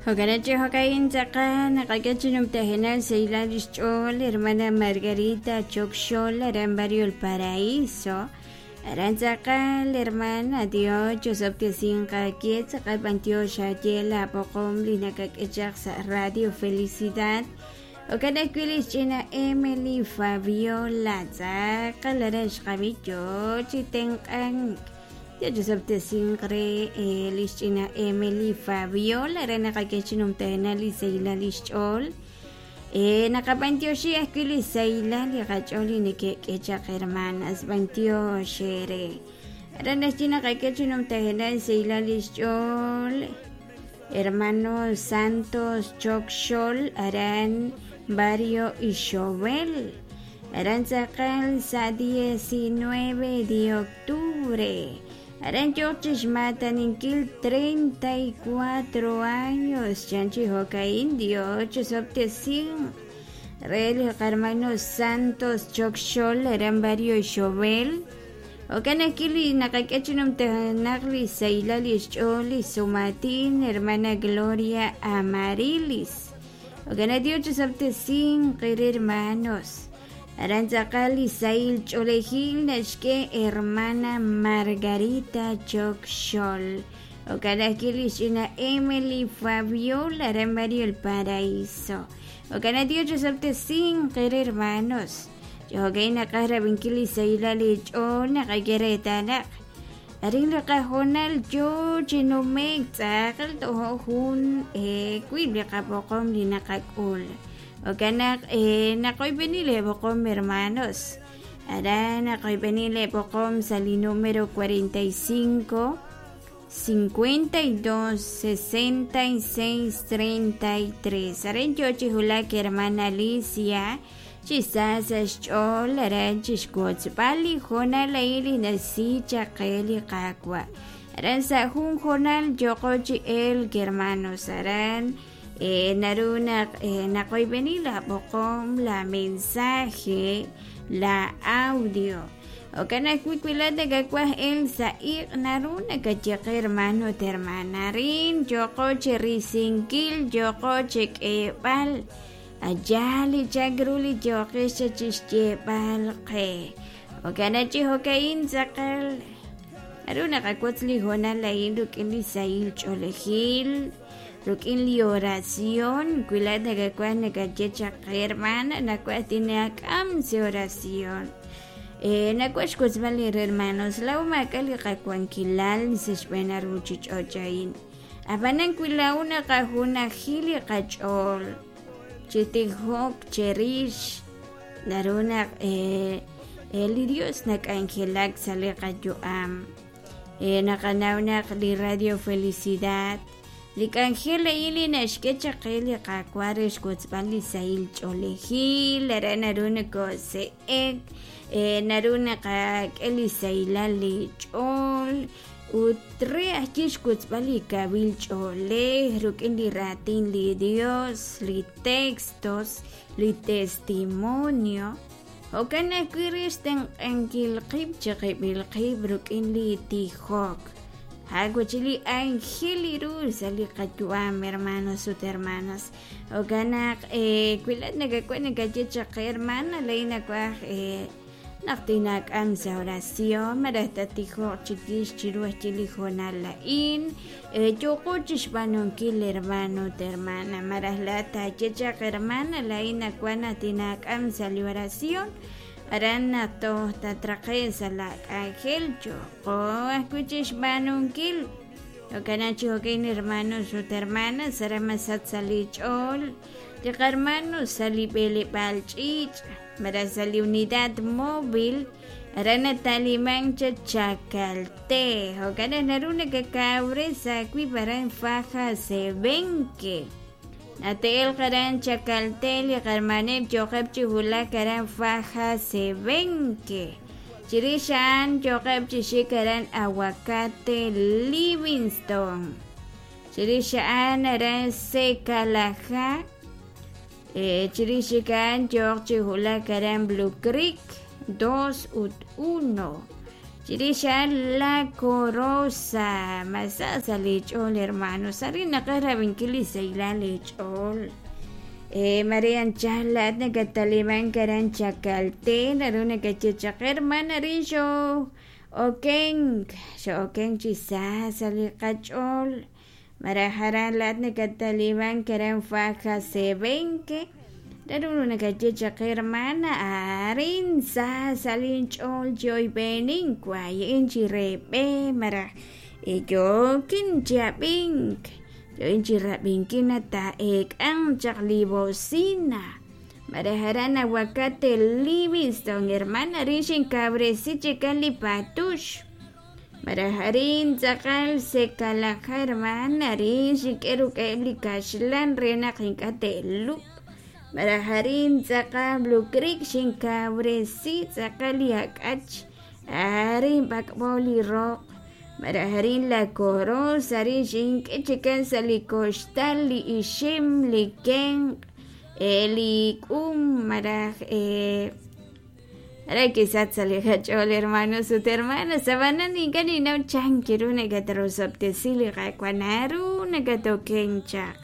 Jo'kan chi jo'ka'in tz'aqal naqak'e chi numtajenaq xsahilal lix ch'ool hermana Margarita Chokxol aran Barrio El Paraíso. Aran tz'aqal hermana Dios chosob'tesinq aawe tz'aqal b'antiox aawe la b'oqom li nakak'e chaq sa' Radio Felicidad. Jo'kan ajwi' lix ch'ina Emily Fabiola tz'aqal aran xqab'i yoo chi tenq'ank. Dios chosob'tesinq re lix ch'ina Emily Fabiola re naqak'e chi numtajenaq li sahilal lix ch'ool. Naqab'antioxi ajwi' li sahilal li qach'ool li neke'k'e chaq hermanas, b'antiox eere. Aran naxye naqak'e chi numtajenaq sahilal lix ch'ool hermano Santos Chokxol aran Barrio Ixobel. Aran tz'aqal sa' 19 de octubre. Aran yook chi xmaataninkil 34 años chan chi jo'ka'in Dios chosob'tesinq re li qarmano Santos Chokxol aran Barrio Ixobel. Jo'kan ajwi' li naqak'e chi numtajenaq li sahilal li xch'ool li sumaatin hermana Gloria Amarilis. Jo'kan Dios chosob'tesinq re hermanos. Aran tz'aqal li sahil ch'oolejil naxk'e hermana Margarita Chokxol. Jo'kan ajwi' li xch'ina Emily Fabiola aran Barrio El Paraíso. Jo'kan Dios chosob'tesinq re hermanos. Jo'kan naqaj rab'inkil li sahilal li ch'ool naqak'e reetal naq arin li qahoonal yoo chi nume'k tz'aqal tojo' jun wiib' li qab'oqom li naqak'ul. Jo'kan naq naqoyb'eni leeb'oqom hermanos. Aran naqoyb'eni leeb'oqom sa' li número 45 52 66 33. Aran yoo chi wulak hermana Alicia chi sa sa' xch'ool aran chixwotzb'al li hoonal a'in li naxsi chaq qe li Qaawa'. Aran sa' jun hoonal yooqo chi elk hermanos aran naru naq naqoyb'eni la b'oqom, la mensaje, la audio. Jo'kan ajwi' wi laa'at nakawaj elk sa' iq' naru nakaye qe hermano ut hermana arin yooqo cherisinkil, yooqo chek'eeb'al Aya li chak ru li yooqex chixyeeb'al qe. Jo'kan chi jo'ka'in tz'aqal naru naqawotz li hoonal a'in rik'in li sahil ch'oolejil, rik'in li oración. Wi laa'at nakawaj nakaye chaq qe hermana, nawaj tinaak'am sa' oración. Nawaj xwotzb'al li hermanos, laa'o maak'a' li qawankilal sa' xb'een a ruuchich'och' a'in. Ab'anan wi laa'o naqajunaji li qach'ool chi tijok cherix, naru naq li Dios nak'anjelak sa' li qayu'am. Naqanaw naq li Radio Felicidad, li k'anjel a'in li naxk'e chaq qe li Qaawa' re xwotzb'al li sahil ch'oolejil, aran naru nokose'ek, naru naqak'e li sahilal li ch'ool, Ut re ajwi' xwotzb'al li kawil ch'oolej rik'in li raatin li Dios, li textos, li testimonio, jo'kan ajwi' re xtenq'ankil qib' chiqib'il qib' rik'in li tijok. Ja'wachil li anjel li ru sa' li qayu'am, hermanos ut hermanas. Jo'kan naq wi laa'at nakawaj nakaye chaq qe, hermana, laa'in nawaj Naq tinaak'am sa' oración malaj tattijoq chiwix chiru ajwi' li hoonal a'in, yooqo chixb'aanunkil hermano ut hermana, malaj laa'at taaye chaq hermana laa'in nawaj naq tinaak'am sa' li oración, aran naq toj tatraqe'q sa' laa k'anjel yooqo ajwi' chixb'aanunkil. Jo'kan naq chi jo'kan hermanos ut hermanas, aran masach sa' li ch'ool li qahermano sa' li b'eleb'aal ch'iich'. Malaj sa' li unidad móvil aran nata'limank chaq Chacalté. Jo'kan naq naru nakakawres aawib' aran Faja Sebenque. Nate'elq aran Chacalté li qarmaneb' yooqeb' chi wulak aran Faja Sebenque. Chirix a'an yooqeb' chi xik aran Aguacate Livingston. Chirix a'an aran Secalajá. Chirix chik a'an yooq chi wulak aran Blue Creek 2 ut 1. Chirix a'an La Corosa. Ma sa sa' leech'ool hermanos, arin naqaj rab'inkil li sahilal leech'ool. Mare anchal laa'at nakattalimank aran Chacalté, naru nakaye chaq hermana arin xoo'okenk, xoo'okenk chi sa sa' li qach'ool. Maraj aran laa'at nakattalimank aran Faja Sebenque, naru nakaye chaq hermana arin sa sa' linch'ool chi oyb'enink wayi'in chi re b'e maraj yookin chi ab'ink, yookin chi rab'inkil naq taa'eek'anq chaq li bocina. Maraj aran Aguacate Livingston, hermana arin xinkawresi chikan li patux. Maraj arin tz'aqal Secalaja, hermana arin xink'e ruk'eb' li kaxlan re naq ink'a' te'lub'. Maraj arin tz'aqal Blue Creek xinkawresi tz'aqal li ak'ach, arin b'ak'b'o li roq. Maraj arin La Corosa arin xink'e chikan sa' li koxtal li ixim, li kenq', li k'um maraj Aran kisach sa' li qach'ool hermanos ut hermanas, ab'anan ink'a' ninnaw chan ru nakatrosob'tesi li Qaawa' naru nakatokenk chaq.